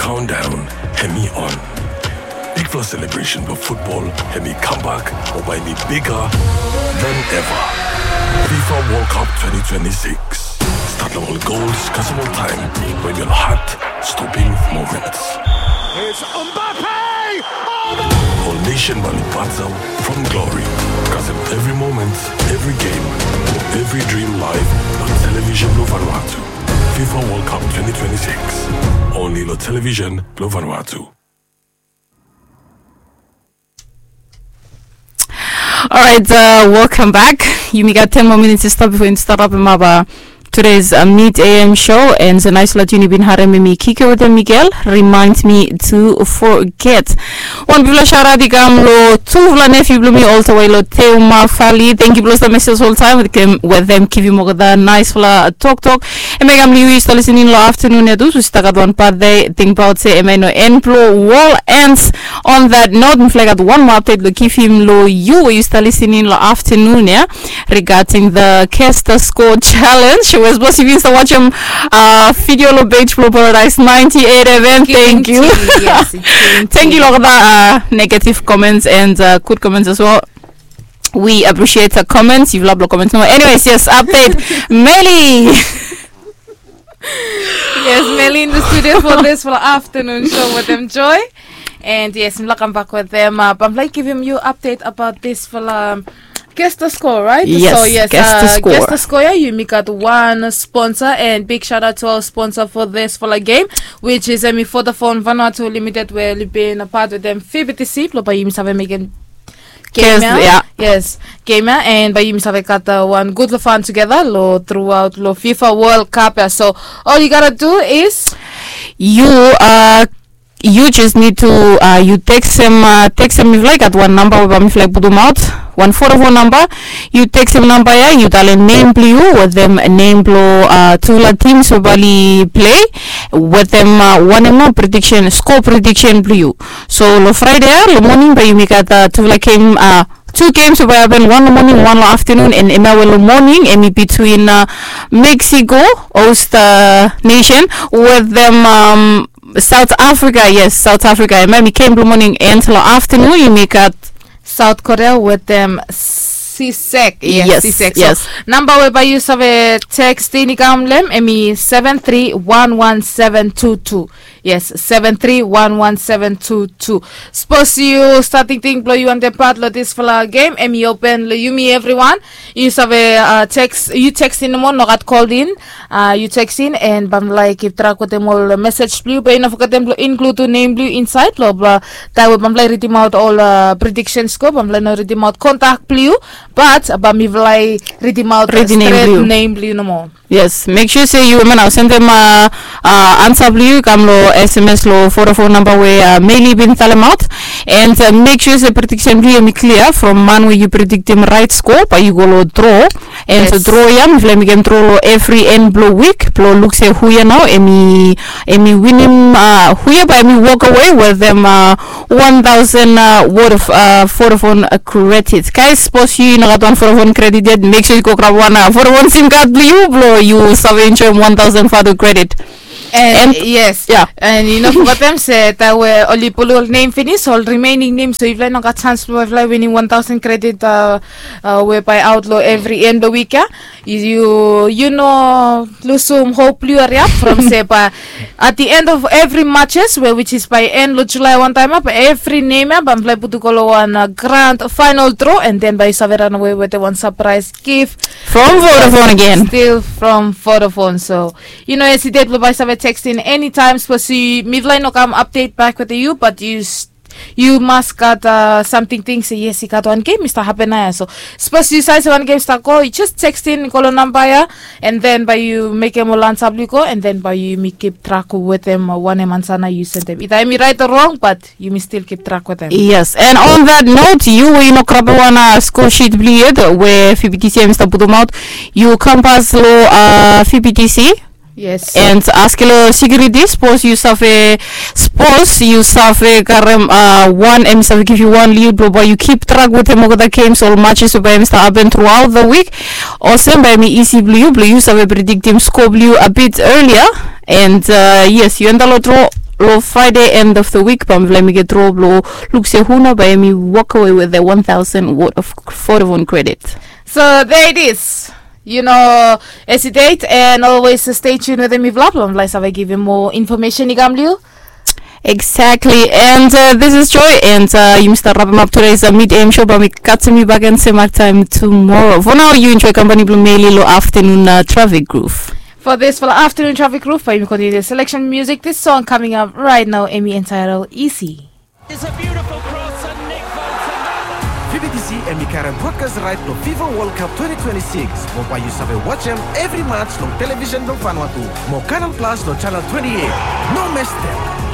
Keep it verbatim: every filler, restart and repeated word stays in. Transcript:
Countdown hemi on. Bigfala celebration blong futbol hemi kambak, o bae hemi bigger than ever. FIFA World Cup twenty twenty-six. Stat long ol goals kasem ol taem, we ol heart-stopping moments. It's Mbappe! Oh, no! Ol nation bae oli battle from glory. Kasem evri moment, evri game, evri dream live long television blong Vanuatu. FIFA World Cup twenty twenty-six. Only long television blong Vanuatu. Alright, uh, welcome back. Yumi gat ten more minutes to stop before you start up in Maba. Today's uh, Mid A M show, and so nice lot yumi bin harem mi Kike with Miguel. Remind me to forget. Wan bigfala shout out i kam lo tufala nephew blong mi all the way lo Teuma Valley. Thank you blong the message all time with them, with them givim olgeta nicefala toktok. Hemia i kam lo yu i stap listening lo afternoon ia tu, so i stap gat wan birthday. Tingbaot se hemia i no en blong wol. And on that note, mifala i gat wan moa update lo givim lo yu we yu stap listening lo afternoon ia, regarding the Guess the Score challenge. We sapos yu bin stap wajem uh, video lo page blong Paradise ninety-eight F M. Thank you. Thank you lo the uh, negative comments and uh, good comments as well. We appreciate the comments. Yufala blong comments nomo. Anyways, yes, update. Meli. Yes, Meli in the studio for this for afternoon show with them, Joy. And yes, mifala kam bak with them. Uh, bae mifala givim yu update about this for um, Guess the Score, right? Yes, so yes, Guess the uh, Score. Guess the Score ia, yumi gat wan sponsor, and big shout out to our sponsor for this for the game, which is hemi Vodafone Vanuatu Limited, we oli bin a part with them V B T C, blong bae yumi save mekem game ia. Yes, game ia, and bae yumi save gat uh, wan gud lo fun together lo throughout lo FIFA World Cup ia. So all you gotta do is yu uh, yu just need to uh, yu tekstem uh, tekstem mifala i gat wan namba we bae mifala i putumaot, wan Vodafone namba. Yu tekstem namba ia, yu talem nem blong yu, wetem nem blong uh, tufala teams we bae oli play, wetem uh, wanem nao prediction, score prediction blong yu. So lo Friday ia lo moning bae yumi gat uh, tufala game, uh, two games we bae hapen, wan lo moning, wan lo afternoon, and hemia we lo moning hemi between uh, Mexico, host uh, nation, wetem um, South Africa. Yes, South Africa. Hemia hemi game blong moning, and lo afternoon yumi gat South Korea wetem Sisek. Yes, Sisek. So namba we bae yu save tekstem i kam lo hem hemi seven three one one seven two two. Yes, seven three one one seven two two. Sapos yu stap tingting blong yu wantem pat lo disfala game, hemi open lo yumi evriwan. Yu save uh, text, yu tekstem nomo, no gat call in. Uh, yu tekstem, and bae mifala i kip track wetem ol message blong yu, be yu no fogetem blong include nem blong yu insaed lo, blong taem we bae mifala i ridimaot ol uh, predictions go, bae mifala i no ridimaot kontak blong yu, but bae mifala i ridimaot stret nem blong yu nomo. Yes, make sure se yu, hemia nao, sendem uh, uh, ansa blong yu i kam lo S M S lo Vodafone namba we uh, Meli bin talemaot. And uh, make sure se prediction blong yu hemi clear from man we yu prediktem right score, bae yu go lo draw. And so draw ia mifala i mekem draw lo evri en blong wik blong luk se hu ia nao hemi, hemi winim, uh, hu ia bae hemi walk away wetem uh, one thousand uh, worth of uh, Vodafone uh, credit. Guys, sapos yu no gat wan Vodafone credit yet, make sure yu go grab wan uh, Vodafone sim card blong yu blong yu save enjoem one thousand Vodafone credit. And, and yes, yeah, and yu no fogetem se taem we oli pul ol nem finis, ol remaining nem, so yufala i no gat chance blong yufala i winim one thousand credit uh, uh, we bae aot lo evri en blong wik ia. Yu, yu no lusum hope blong yu, hariap from se bae at the end of evri matches, we which is bae en lo July wantaem ia, bae evri nem ia bae mifala i putum go lo wan uh, grand final draw, and then bae yu save ranawe wetem wan surprise gift from Vodafone again. Still from Vodafone. So yu no hesitate blong bae save tekstem anytime, sapos mifala i no kam update bak wetem yu, but yu yu mas gat uh, samting ting se yes, i gat wan game i stap hapen nao ia. So sapos yu save se wan game i stap go, yu just tekstem go lo namba ia, and then bae yu mekem ol ansa blong yu go, and then bae yumi kip track wetem uh, wanem ansa nao yu sendem, ita hemi right o wrong, but yumi still kip track wetem. Yes, and on that note, yu we yu no grabem wan uh, score sheet blong yu yet we V B T C hemi stap putumaot, yu kam pas lo uh, V B T C. Yes. And askem lo security, sapos yu save, sapos yu save karem uh, wan, hemi save givim yu wan lead blong bae yu kip track wetem olgeta games, ol matches we bae hemi stap hapen throughout the week. Olsem bae hemi easy blong yu blong yu save prediktem score blong yu a bit earlier. And uh, yes, yu enta lo draw Lo Friday end of the week bae mifala yumi get dro blo luk se hu nao bae yumi walk away with the one thousand worth of Vodafone credit. So there it is. You know, as a date and always stay tuned with mifala blo mifala save givim more information i kam blo yu. Exactly. And uh, this is Joy, and uh, yumi stap wrap up today's uh, mid A M show, bae mi katim yu back and same time tomorrow. For now, yu enjoy company blo Meli lo afternoon uh, traffic groove. For this for afternoon traffic groove, bae mi continue the selection music. This song coming up right now, Emi entitled Easy. It's a beautiful cross and Nick Foden. Fi B B C hemi karem broadcast right blo FIFA World Cup twenty twenty-six. Mo bae yu save wajem evri match long television blo Vanuatu. Mo Canal Plus lo channel twenty-eight. No mes dem.